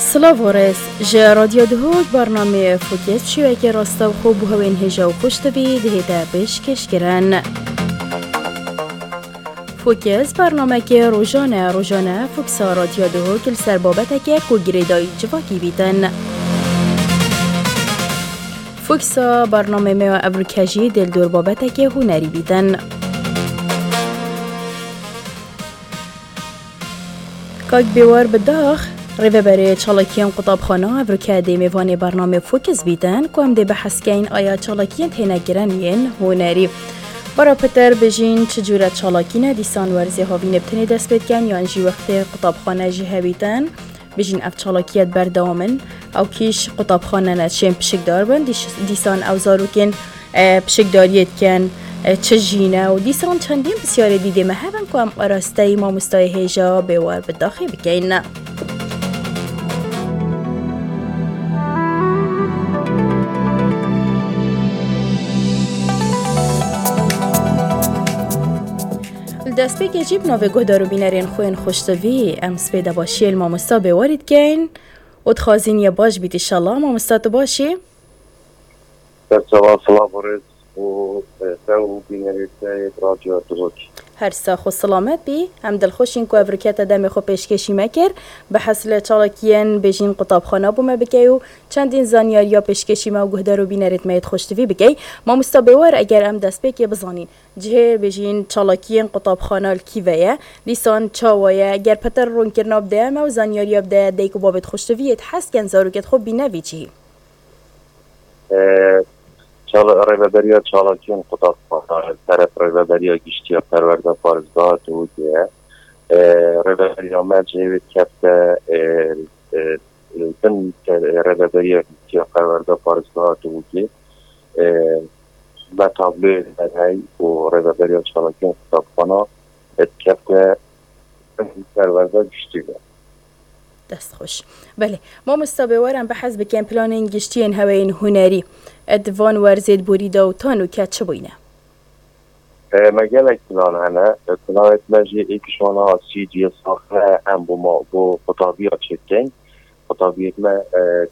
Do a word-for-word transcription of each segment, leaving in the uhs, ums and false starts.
Silav û rêz. Ji Radyo Duhok bernameyê Fokê şêwekê rastewxo bo hewên hêja û xweştivî dihête pêşkêşkirin. Fokis bernamekê rojane, rojane Foksa Radyo Duhok li ser babeteke ku girêdayî civakî bîtin. Foksa bernameyê me ya evroke jî dê li dor babeteke hunerî bîtin. Kak Bêwar Bidax, rêveberê çalakiyên qutabxana, evroke dê mêvanê bernamê Fokis bîtin, ku em dê behs keyn aya çalakiyên tênekirin yên hunerî. Bara pitir bêjîn çi cûre çalakî ne, dîsan werzê havînê bi tenê dest pê dikin, yan jî wextê qutabxane jî hebîtin. Bêjîn ev çalakiyet berdewam in. Ew kî ji qutabxane ne, çên pişikdar bin, dîş-, dîsan ew zarokên, e, pişikdariyê dikin, e, çi jî ne û dîsan çendîn pisyarê dîdê me hebin ku em arasteyî mamostayê hêja Bêwar Bidaxê bikeyn. Li destpêkê jî bi navê guhdar û bînerên xwe yên xweştivî em spêdebaşiyê li mamosta Bêwarî dikeyn û dixwazîn ye baş bît, înşallah. Mamosta, tu baş î? Ser çava, silav û rêz û, e, te û bînerê te yê Radyo Duhok. Her sax û silamet bî. Em dilxweş in ku evroke te demê xwe pêşkêşî me kir. Behs li çalakiyên bêjîn qutabxana bo me bikey û çendîn zanyariya pêşkêşî me û guhdar û bînerêt me yê xweştivî bikey. Mamosta Bêwar, eger em destpêkê bizanîn, cihê bêjîn çalakiyên qutabxana li kî ve ye, dîsan çawa ye, eger pitir rûnkirina bide me û zanyariya bide dayik û babêt xweştivî yêt hez dikin zarokêt xwe bîne vî cihî. E, çal-, Rêveberiya Çalakiyên Qutabxana li teref Rêveberiya Giştî ya Perwerda Parêzgeha Duhokê ye. E, Rêveberiya me cihê wê dikefte, e, e, bin te-, Rêveberiya Giştî ya Perwerda Parêzgeha Duhokê, e, me tabloyê derhey û Rêveberiya Çalakiyên Qutabxana dikefte perwerda giştî ve. Dest xweş. Belê. Mamosta Bêwar, em behs bikin planên giştiyên heweyên hunerî. Di van werzê di borî de û ta nûke çi bûyne? E, me gelek plan hene. E, planêt me jî êk ji wana C D saxe em bo ma, bo qutabiya çêdikeyn. Qutabiyêt me, e,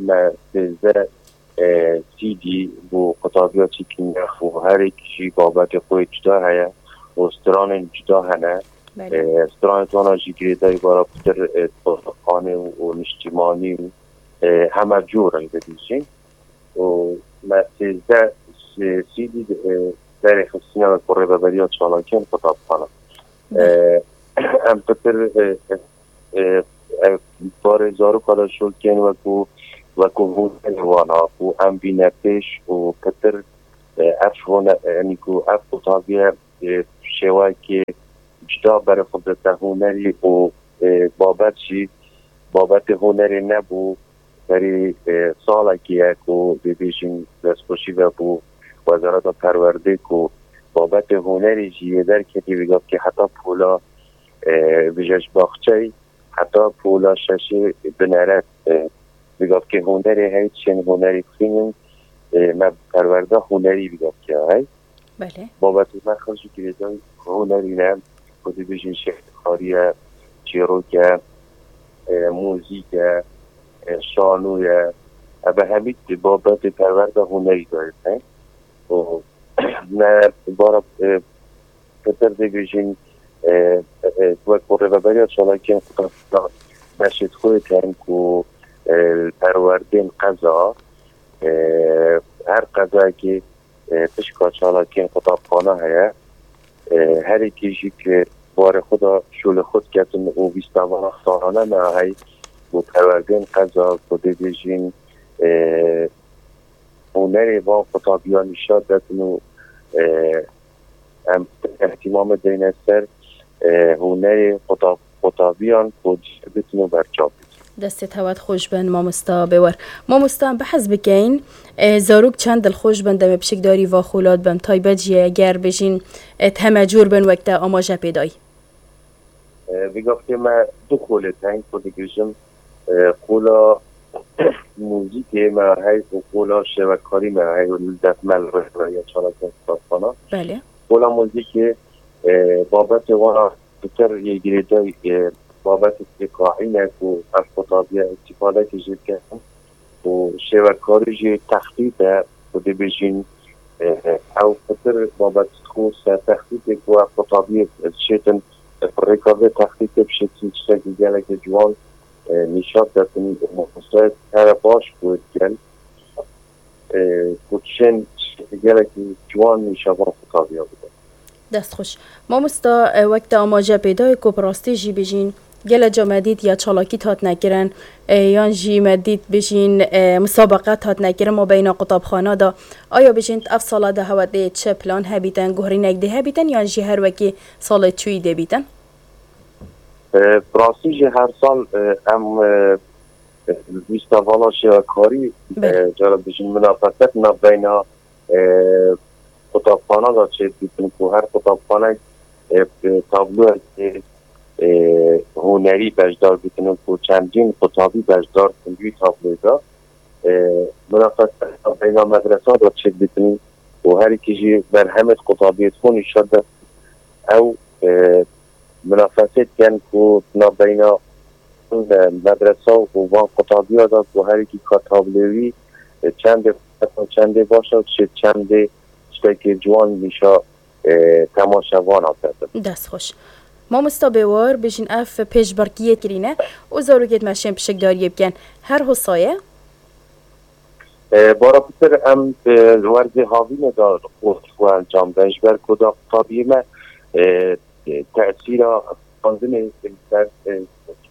me sêzdeh e, C D bo qutabiya çêkirine û her êk jî babetê xwe yê cuda heye û stranên cuda hene. Belê. E, stranê wana jî girêdayî bara pitir, e, xanê û, û niştîmanî û, e, heme cor in bibêjin. Û me sêzdeh, e, C D, e, derê xistine me ku rêveberiya çalakiyên qutabxana. Belê. E, em pitir, e, e, e, ev barê zaroka de şol kên wekû, wekû hunerê wana ku em bîne pêş û pitir, e, ev hune-, e, yanî ku ev qutabiye, e, şêwekê cuda berê xwe dide hunerî û, e, babet jî babetê hunerê nebû. Berî, e, salekê ye ku dê bêjin destxweşî vebû Wezareta Perwerdê ku babetê hunerê jî yê derketî, vêga bikê heta pola, e, vêje ji baxçeyê heta pola şeşê binere, e, vêga bikê hunerê hey, çên hunerê xînin, e, me perwerda hunerî vêga bikê hey. Belê. Babetê me xirc û girêdayî hunerî ne, ku dibêjin şêxkarî ye, çîrok e, e, muzîk e, e, şano ye. Eve hemî babetê perwerda hunerî de ne. Û me bara, e, pitir dibêjin, e, e, wek ku rêveberiya çalakiyên qutabxana beşê xwe tên ku, e, perwerdên qeza, e, her qezayekî e, pişka çalakiyên qutabxana heye. E, her êkî jî ki barê xwe de şolê xwe diketin û vîstevana salane me hey û perwerdên qeza ku dê bêjin, e, hunerê van qutabiyan nîşan dedin û, e, em ihtimamê deyne ser, e, hunerê qutab-, qutabiyan ku bitin û berçav bitin. Destê te wet xweş bin, mamosta Bêwar. Mamosta, em behs bikeyn, e, zarok çend dilxweş bin demê pişikdarî va xola dibin, taybet jî eger bêjin, e, heme cor bin wek te amaje pê dayî? E, vê gavkê me du xolê tên ku dibêjim, e, xola muzîkê me hey û xola şêwekkarî me hey û li def me li rêveberiya çalakiyên qutabxana. Belê. Xola muzîkê, e, babetê wana pitir yê girêdayî, e, babetê têqaî ne ku ev qutabiyê îstîfadekî jê bikin û şêwekarî jî textît e ku dibêjin, e, ew pitir babet xwe ser textîtê ku ev qutabiyê diçêtin, e, bi rêka vê textîtê bi şeklî tiştekî gelekî ciwan, e, nîşan detin û mamostayê here baş ku dikin, e, ku dişên tiştekî gelekî ciwan nîşan van qutabiya bidin. Dest xweş. Mamosta, e, wek te amaje pê dayê ku bi rastî jî bijîn, gele ca me dît ya çalakît hatine kirin, e, yan jî me dît bijîn, e, musabeqet hatine kirin mabeyna qutabxana de. Aya bijîn ev sala de hewe tê çi plan hebîtin, guhrînek dê hebîtin yan jî her wekî salê çûyî dê bîtin? E, bi rastî jî her sal, e, em, e, e, lîsta vala şêwekarî, Belê. e, cara bijîn minafeset navbeyna, e, qutabxana da çêdibîtin ku her qutabxanek, e, e, tabloyekê, e, hunerî beşdar bitin û ku çendîn qutabî beşdar bitin wî tabloyê de. E, minafeset navbeyna medresa da çêdibîtin û herîkî jî berhemê qutabiyê xwe nîşan de ew, e, minafesê dikin ku navbeyna, e, medresa û van qutabiya de ku herîkî ka tabloyê wî, e, çendê, çendê baş e, çi çendê tiştekê ciwan nîşa, e, temaşevana bidin. Dest xweş. Mamosta Bêwar, bijîn ev pêşbirkiyê kirîne û zarokêt me şên pişikdariyê bikin. Her hosaye? E, bara pitir em, e, werzê havînê de xwe, xwe encam den. Ji ber ku da qutabiyê me, e, e, tesîra xwendinê ser, e,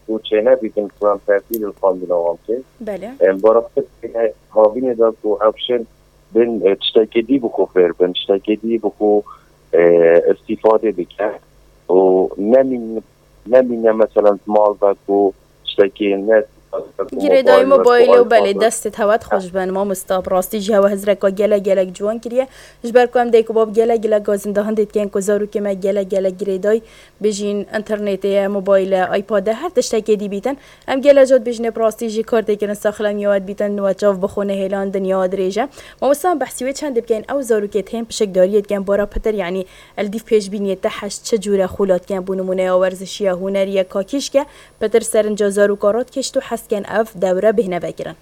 ku çênebîtin ku em tesîr li xwendina wan bike. Belê. Em bara pitir havînê de ku ew şên bin, e, tiştekê dî bi xwe fêr bin, tiştekê dî bi xwe, e, îstîfadê bike û nemîn-, nemîne meselen mal be ku tiştekê ne Girêdayî mobaylê û belê destê hewe xweş bin mamosta. Bi rastî jî hewe hizreka gelek gelek ciwan kiriye. Ji ber ku em dayik û bab gelek gelek gazinda hindê dikin ku zarokê me gelek gelek girêdayî bijîn, înternetê ye, mobayle, iPad e, her tiştekê dî bîtin. Em gelek cat bijîne bi rastî jî kar tê kirin, saxlem ya we dibîtin, we çav bixwe nehêlan dinya dirêj e. Mamosta em behsî wê çendê bikeyn, ew zarokê tên pişikdariyê dikin, bara pitir, yanî li dîv pêşbîniyê te heşt çi cûre xûlat dikin, bo nimûne ya werzişî ye, hunerî ye, kakîşk e, pitir serinca zaroka radikêşt û hez dikin ev dewre bihne vekirin.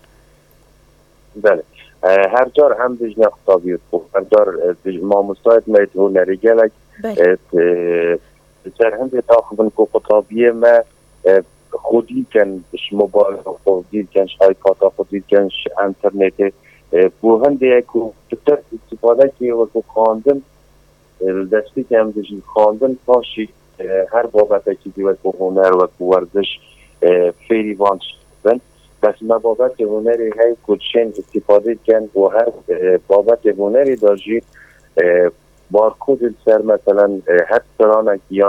Belê. E, her car em dijne qutabiyê xwe, her car, e, dij-, mamostayê me yê hunerî gelek, Belê. e, t-, e, ser hindê daxivin ku qutabiyê me, e, xwedî dikin, ji mobayla xwedî dikin, ji iPada xwedî dikin, ji înternetê. E, ku hindê ye ku pitir îstîfadekê wekî xwendin, e, li destpêkê em dijîn xwendin, paşî, e, her babetekî dî wekî huner, wekî werziş, e, fêrî van tişt bin. Bes me babetê hunerê heye ku dişên îstîfadê dikin û her, e, babetê hunerê de jî, e, barkodê li ser, meselen, e, her stranek ya